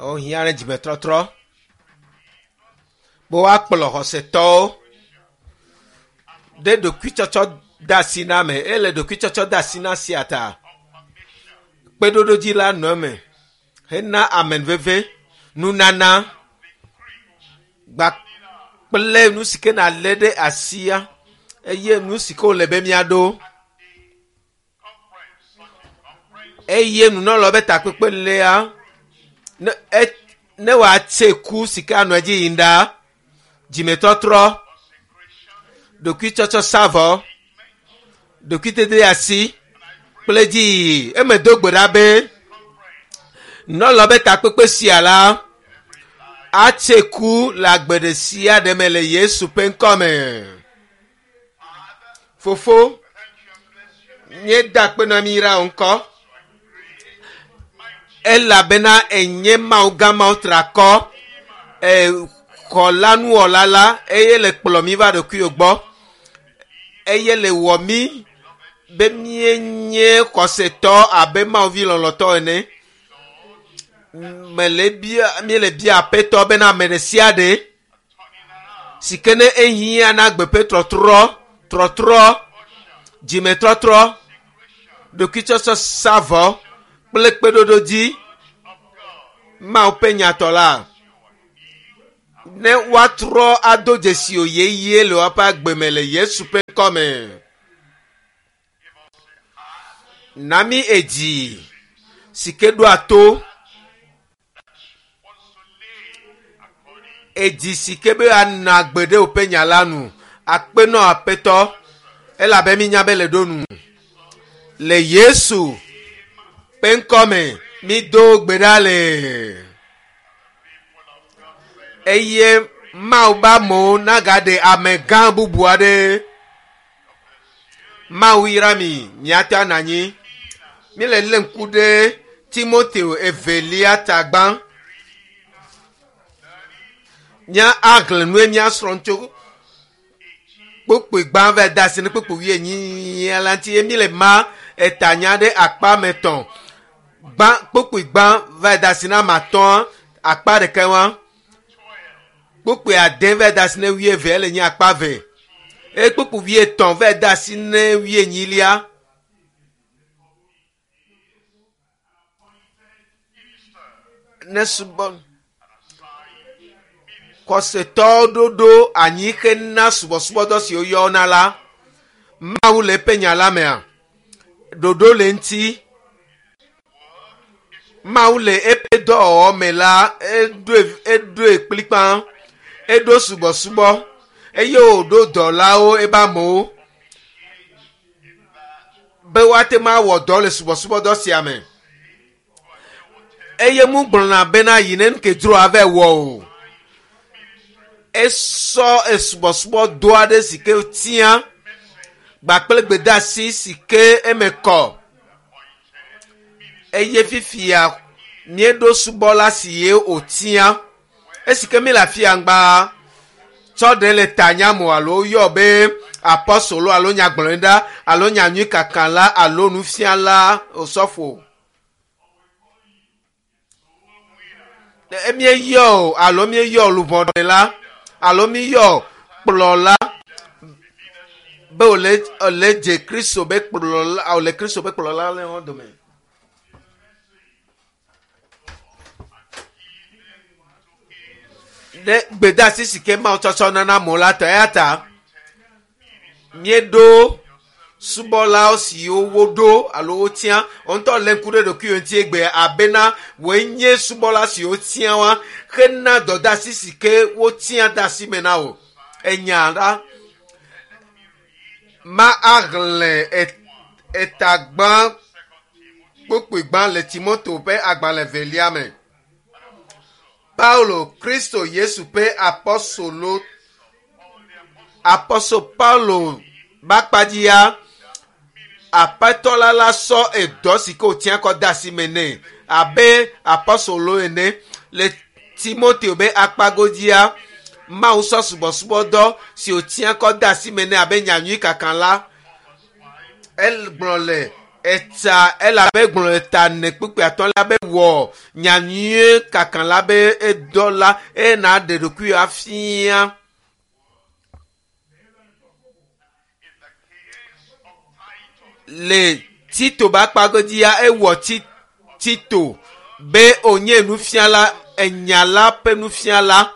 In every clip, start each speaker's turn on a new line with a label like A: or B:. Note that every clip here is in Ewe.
A: Wohiã ɖe dzimetɔtrɔ be woakplɔ xɔsetɔwo ɖe ɖokuitsɔtsɔ de asi na me. Ele ɖokuitsɔtsɔ de asi na sia ta kpeɖoɖodzi la nɔ eme hena amenuveve, nunana gba kple nu si ke nalé ɖe asia eye nu si ke wòle be míaɖo eye nunɔlawo be takpekpe lea ne e ne wòatse ku si ke anɔ edzi yim ɖaa dzimetɔtrɔ ɖokuitsɔtsɔ savɔ ɖokuitete asi kple dziyiyi eme do gbe ɖa be nunɔlawo be takpekpe sia la atse ku le agbe ɖe sia ɖe me le Yesu ƒe ŋkɔ me. Fofo, míeda akpe na mi yra wò ŋkɔ elabena enye Mawu gã Mawu triakɔ xɔla nuwɔla la eye le kplɔ mí va ɖokuiwò gbɔ eye le wɔ mí be míenye xɔsetɔ abe Mawu vi lɔlɔ̃tɔ ene. Mele bia míele bia Aƒetɔ bena ame ɖe sia ɖe si ke ne ehiã na agbe ƒe trɔtrɔ, trɔtrɔ, dzimetrɔtrɔ, ɖokuitsɔtsɔ savɔ kple kpeɖoɖodzi Mawu ƒe nyatɔ la, ne woatrɔ ado dzesi wò yeye le woƒe agbe me le Yesu ƒe ŋkɔ me. Na mí edzi si ke ɖoa to Edzi si ke be anɔ agbe ɖe woƒe nya la nu. Akpe nɔ Aƒetɔ, elabe mínya be le ɖo nu. Le Yesu ƒe ŋkɔ me, mído gbe ɖa le. Eye Mawu be amewo nagaɖe amegã bubu aɖe. Mawu yra mi, miate anɔ anyi. Míle lé ŋku ɖe Timoteo evelia ta gbã. Mía axlẽ nue míasrɔ̃ tso kpukpui gbã va de asi ne kpukpui wuienyi la ŋuti ye míle ma etanya ɖe akpa me tɔ̃. Gbã kpukpui gbã va de asi na ame atɔ̃a akpa ɖeka wa. Kpukpui ade va de asi ne wuieve ele nye akpa ve. Eye kpukpui wuietɔ̃ va de asi ne wuienyilia. Ne subɔ xɔsetɔwo ɖoɖo anyi hena subɔsubɔdɔ si woyɔna la, Mawu le eƒe nya la mea, ɖoɖo le eŋuti. Mawu le eƒe dɔwɔwɔ me la, eɖoe eɖoe kplikpaa, eɖo subɔsubɔ eye wòɖo dɔlawo ebe amewo be woate ŋu awɔ dɔ le subɔsubɔdɔ sia me. Eye mu gblɔna bena yi ne nuke dzro ava wɔ o. Esɔ esubɔsubɔdɔ aɖe si ke tia gbakple gbedeasi si ke eme kɔ. Eye fifia míeɖo subɔla si ye wòtia. Esi ke míele afia ŋgba tsɔ ɖe le tanya mo alo yɔ be apɔstolo alo nyagblɔɖila alo nyanyuikakala alo nufiala osɔfo. Míeyɔ o alo míeyɔ luʋɔɖela alo míeyɔ kplɔla be wòle wòle dze Kristo be kplɔla wòle Kristo be kplɔla le wo dome. Ɖe gbedeasi si ke Mawu tsɔtsɔ nana amewo la ta eya ta míeɖo subɔlawo siwo woɖo alo wotia wò ŋutɔ lé ŋku ɖe ɖokuiwò ŋuti egbea abena wòe nye subɔla siwo wotia wa hena dɔdeasi si ke wotia de asi me na wò. Enya la ma axlẽ etagbã kpukpui gbã le Timoteo ƒe agbalẽ evelia me. Paulo, Kristo Yesu ƒe apɔstolo, apɔstolo Paulo ƒe akpadzia, Aƒetɔ la la sɔ edɔ si ke wòtia kɔ de asi me nɛ abe apɔstolo ene le Timoteo be akpagodzia. Mawu sɔ subɔsubɔdɔ si wòtia kɔ de asi me nɛ abe nyanyui kaka la. Egblɔ le. Etsa elabe gblɔ le ta ne kpukpui atɔ̃ la be wɔ nyanyuie kaka la be edɔ la eye na ɖe ɖokui afia. Le Tito be akpagodzia ewɔ Tito be wònye nufiala, enya la ƒe nufiala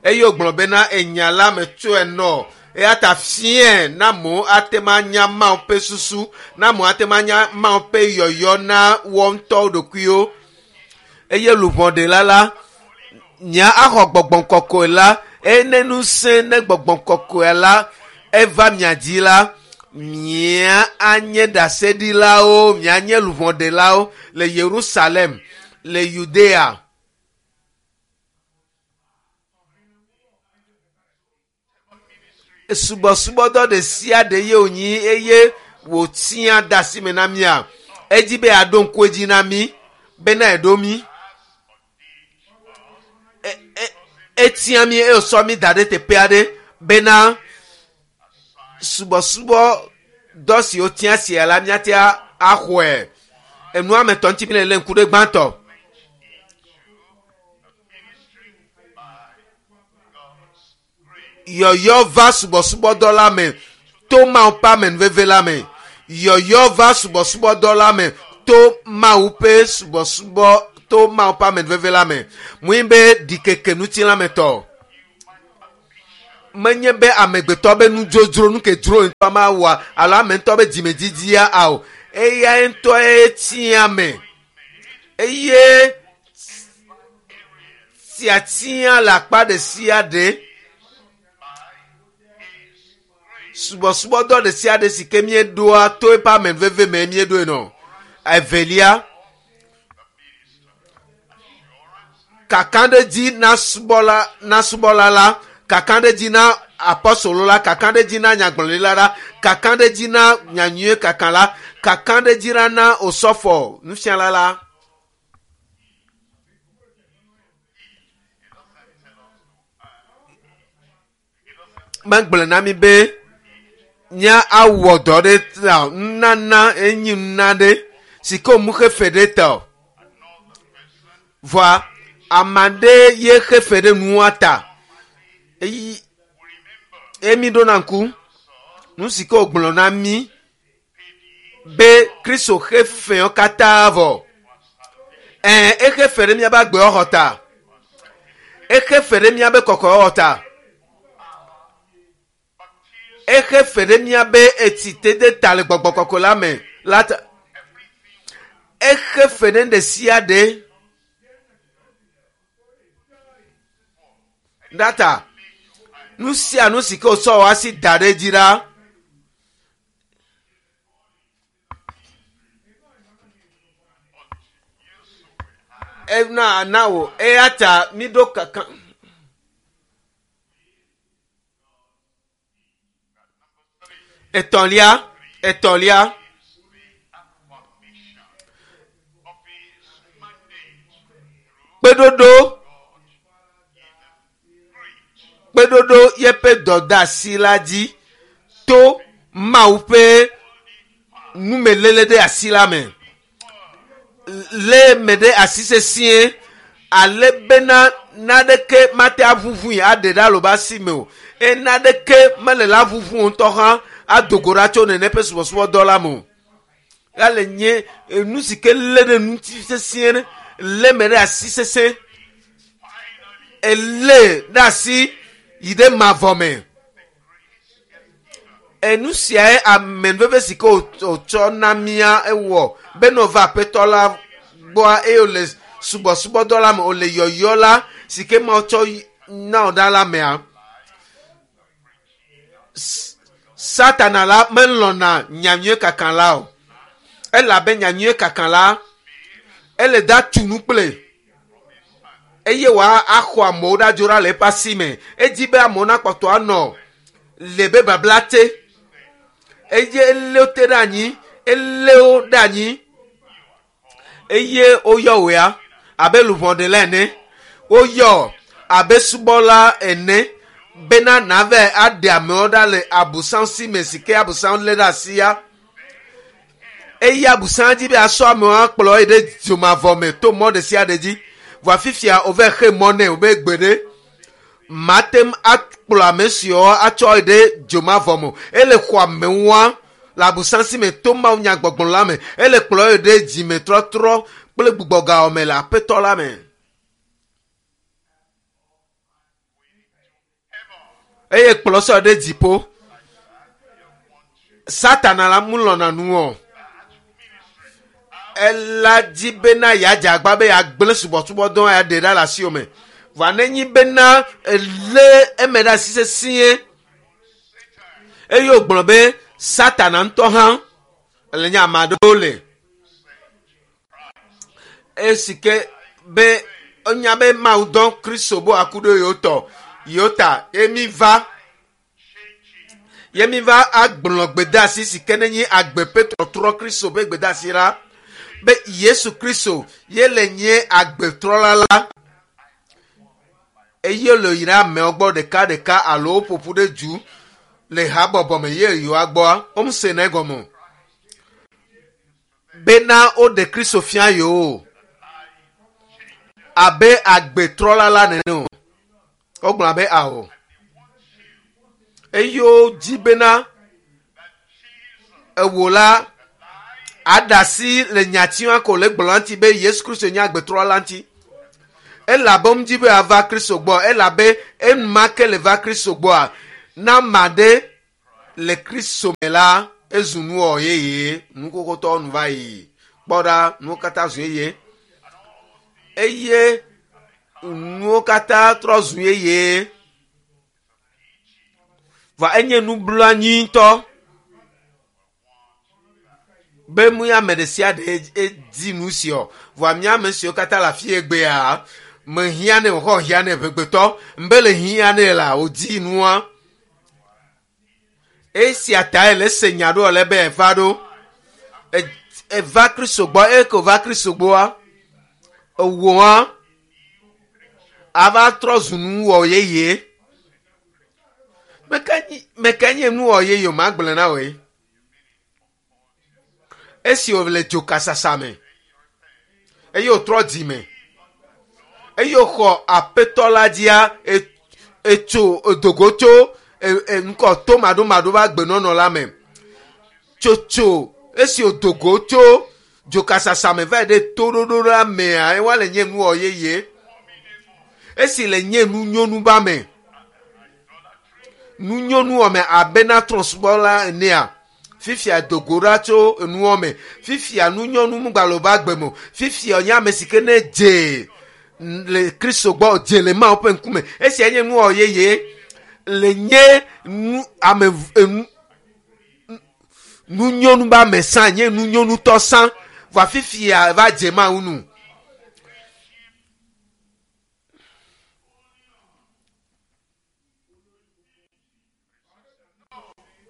A: eye wògblɔ bena enya la metsɔe nɔ eya ta fiae na amewo ate ŋu anya Mawu ƒe susu, na amewo ate ŋu anya Mawu ƒe yɔyɔ na woawo ŋutɔwo ɖokuiwo. Eye luʋɔɖela la, nya axɔ gbɔgbɔ kɔkɔe la, eye ne ŋusẽ ne gbɔgbɔ kɔkɔe la eva mia dzi la, mia anye ɖaseɖilawo, mia nye luʋɔɖelawo le Yerusalem, le Yudea. Subɔsubɔdɔ ɖe sia ɖe ye wònyi eye wòtia de asi me na mía. Edzi be yeaɖo ŋku edzi na mí bena eɖo mí. Etia mí eye wòsɔ mí da ɖe teƒe aɖe bena subɔsubɔdɔ si wotia sia la míate axɔe. Enua me tɔ ŋuti mi le lé ŋku ɖe gbãtɔ. Yɔyɔ va subɔsubɔdɔ la me to Mawu ƒe amenuveve la me. Yɔyɔ va subɔsubɔdɔ la me to Mawu ƒe subɔsubɔ to Mawu ƒe amenuveve la me. Mui be ɖikeke ŋuti la me tɔ. Menye be amegbetɔ be nudzodzro nu ke dzro ŋutɔ ma wɔa alo ame ŋutɔ be dzimedidia ao. Eya ŋutɔe tia me. Eye tiatia le akpa ɖe sia ɖe. Subɔsubɔdɔ ɖe sia ɖe si ke míeɖoa to eƒe amenuveve me míeɖoe nɔ. Evelia, kakaɖedzi na subɔla, na subɔla la, kakaɖedzi na apɔstolo la, kakaɖedzi na nyagblɔɖila la, kakaɖedzi na nyanyuie kaka la, kakaɖedzi la na osɔfɔ nufiala la. Megblɔ na mi be nya awɔ dɔ ɖe ta nunana enyi nuna ɖe si ke wòmu xefe ɖe ta o. Vɔa ame aɖe ye xefe ɖe nua ta. Eyi emi ɖona ŋku nu si ke wògblɔ na mi be Kristo xefewo katã vɔ. Ɛ̃, exefe ɖe míaƒe agbewɔxɔ ta. Exefe ɖe míaƒe kɔkɔewɔwɔ ta. Exefe ɖe míaƒe etsitede ta le gbɔgbɔ kɔkɔe la me la ta. Exefe ɖe ɖe sia ɖe. Ɖa ta. Nu sia nu si ke wòtsɔ wò asi da ɖe edzi la. Ena na wò eya ta míɖo kaka. Etɔ̃lia, etɔ̃lia. Kpeɖoɖo, kpeɖoɖo yeƒe dɔdeasi la dzi to Mawu ƒe numeléle ɖe asi la me. Lé me ɖe asi sesĩe ale bena naneke mate aʋuʋui aɖe ɖe alo be asi me o. Eye naneke mele la ʋuʋu ŋutɔ hã ado go ɖa tso nene ƒe subɔsubɔdɔ la me o. Ya le nye nu si ke lé ɖe ŋuti sesĩe ɖe, lé me ɖe asi sesẽ. Elé ɖe asi yi ɖe mavɔ me. Enu siae amenuveve si ke wòtsɔ na mía ewɔ be ne wòva aƒetɔ la gbɔa eye wòle subɔsubɔdɔ la me, wòle yɔyɔ la si ke Mawu tsɔ na wò ɖa la mea. Satana la melɔ̃na nyanyuie kaka la o. Elabe nyanyuie kaka la, ele da tu nu kple eye wòa axɔ amewo ɖa dzo ɖa le eƒe asi me. Edzi be amewo nakpɔtɔ anɔ le be babla te. Eye elé wo te ɖe anyi, elé wo ɖe anyi eye woyɔ wò ya abe luʋɔɖela ene. Woyɔ abe subɔla ene bena nave aɖe amewo ɖa le abusam si me si ke abusam lé ɖe asi ya. Eya busan dzi be asɔ amewo akplɔ yi ɖe dzomavɔ me to mɔ ɖe sia ɖe dzi. Vɔa fifia wova xe mɔ nɛ wobe gbe ɖe mate ŋu akplɔ ame siwo atsɔ yi ɖe dzomavɔ me o. Ele xɔ amewoa le abusan si me to Mawu nyagbɔgblɔ la me. Ele kplɔ yi ɖe dzimetrɔtrɔ kple gbugbɔgawɔ me le aƒetɔ la me. Eye kplɔ sɔ ɖe dziƒo. Satana la mu lɔna nu o. Ela dzi bena yeadze agba be yeagblẽ subɔsubɔdɔ ya ɖe ɖa le asiwò me. Vɔa nenyi bena elé eme ɖe asi sesĩe eye wògblɔ be Satana ŋutɔ hã le nye ame aɖewo le esi ke be enya be Mawu dɔ Kristo be wòaku ɖe yewo tɔ yewo ta ye mi va ye mi va agblɔ gbedeasi si ke nenye agbe ƒe trɔtrɔ Kristo ƒe gbedeasi la be Yesu Kristo ye le nye agbetrɔla la eye le yi ɖe amewo gbɔ ɖekaɖeka alo woƒoƒu ɖe du le habɔbɔ me ye yewoa gbɔa womese ne gɔme o bena woɖe Kristo fia yewo abe agbetrɔla la nene o. Wogblɔ be ao. Eye wodzi bena ewo la aɖe asi le nyatiwa ko le gblɔ ŋuti be Yesu Kristo nye agbetrɔla la ŋuti. Elabe womedi be yeava Kristo gbɔ elabe enumake le va Kristo gbɔa na ame aɖe le Kristo me la ezu nuwɔwɔ yeye nu xoxotɔwo nu va yi kpɔ ɖa nuwo katã zu yeye eye nuwo katã trɔ zu yeye va enye nublanui ŋutɔ be mu ame ɖe sia ɖe edi nu sia vɔa mía ame siwo katã le afi egbea mehiã nɛ wòxɔ hiã nɛ ʋegbetɔ mbe le hiã nɛ la wòdi nua esia tae le se nya ɖo le be eva ɖo eva Kristo gbɔ eye ko va Kristo gbɔa ewɔa ava trɔ zu nuwɔ yeye meke nye nuwɔ yeye o magblẽ na wòe esi wòle dzokasasa me eye wòtrɔ dzime eye wòxɔ aƒetɔ la dzia etso edogo tso ŋkɔ to maɖomaɖo va agbenɔnɔ la me tsotso esi wòdogo tso dzokasasa me va yi ɖe toɖoɖo la mea ewa le nye nuwɔ yeye esi le nye nunyonu ba me nunyonu me abe na trɔ̃subɔla enea fifia dogo ɖa tso enuwɔ me fifia nunyɔnu mugbalẽ ba gbe me o fifia nye ame si ke ne dze le Kristo gbɔ dze le Mawu ƒe ŋkume esia nye nuwɔ yeye le nye nu ame enu nunyɔnu ba me sã nye nunyɔnutɔ sã vɔa fifia va dze Mawu nu.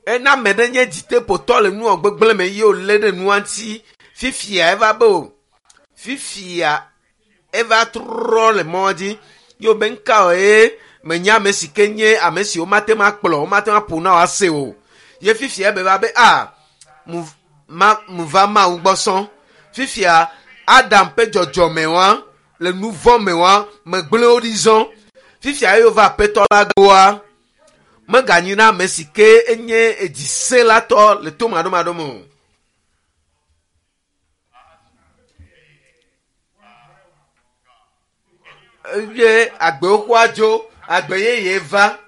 A: Ena ame ɖe nye dziteƒotɔ le nuwɔ gbegblẽ me ye wòlé ɖe nua ŋuti fifia eva be o fifia eva trɔ le mɔ dzi ye wòbe ŋka o ye menye ame si ke nye ame si womate ŋu akplɔ womate ŋu aƒo na wòase o ye fifia ebe va be a mu ma mu va Mawu gbɔ sɔŋ fifia Adam ƒe dzɔdzɔme wa le nu vɔ̃ me wa megblẽ wo ɖi zɔ fifia ye wova aƒetɔ la gbɔa meganyi na ame si ke enye edzisẽlatɔ le to maɖomaɖo me o. Eye agbewo xɔa dzo, agbe yeye va.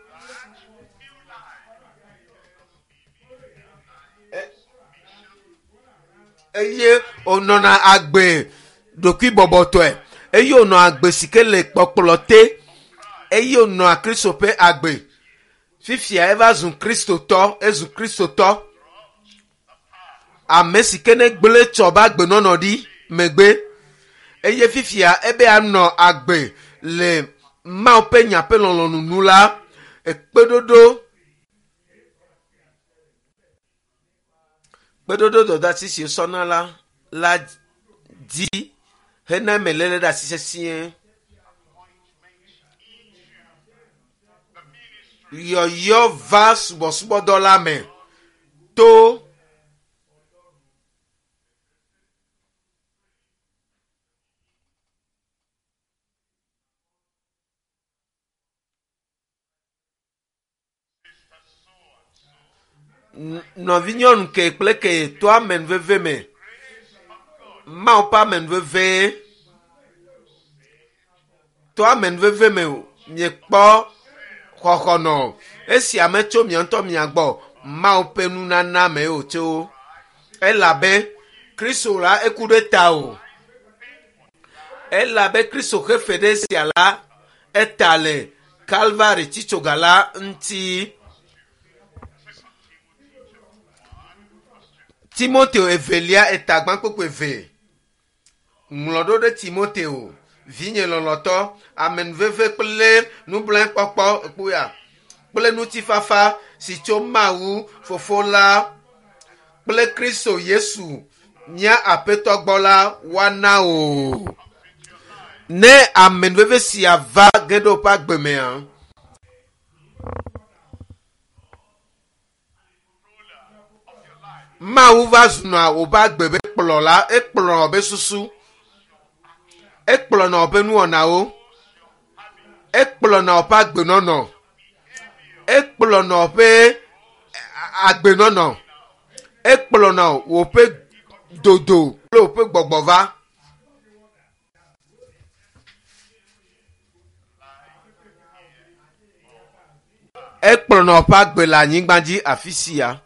A: Eye wònɔna agbe ɖokuibɔbɔtɔe eye wònɔ agbe si ke le kpɔkplɔ te eye wònɔa Kristo ƒe agbe. Fifia eva zu Kristotɔ, ezu Kristotɔ. Ame si ke ne gblẽ tsɔ be agbenɔnɔ ɖi megbe eye fifia ebe anɔ agbe le Mawu ƒe nya ƒe lɔlɔ̃nu nu la, ekpeɖoɖo kpeɖoɖo dɔdeasi si wosɔna la la dzi hena eme léle ɖe asi sesĩe. Yɔyɔ va subɔsubɔdɔ la me to. Nɔvinyɔnu ke kple ke to amenuveve me. Mawu ƒe amenuveve to amenuveve me miekpɔ xɔxɔ nɔ. Esia metso mia ŋutɔ mia gbɔ. Mawu ƒe nunana me wòtso. Elabe Kristo la eku ɖe ta o. Elabe Kristo xe fe ɖe esia la eta le Kalvari tsitsoga la ŋuti. Timoteo evelia etagbã kpukpui eve. Ŋlɔ ɖo ɖe Timoteo, vinye lɔlɔtɔ, amenuveve kple nublanuikpɔkpɔ kpuia kple ŋutifafa si tso Mawu Fofo la kple Kristo Yesu mía Aƒetɔ gbɔ la woana wò. Ne amenuveve sia va ge ɖe woƒe agbe mea, Mawu va zuna woƒe agbe be kplɔla, ekplɔna woƒe susu, ekplɔna woƒe nuwɔnawo, ekplɔna woƒe agbenɔnɔ, ekplɔna woƒe agbenɔnɔ, ekplɔna woƒe dodo kple woƒe gbɔgbɔ va. Ekplɔna woƒe agbe le anyigba dzi afi sia.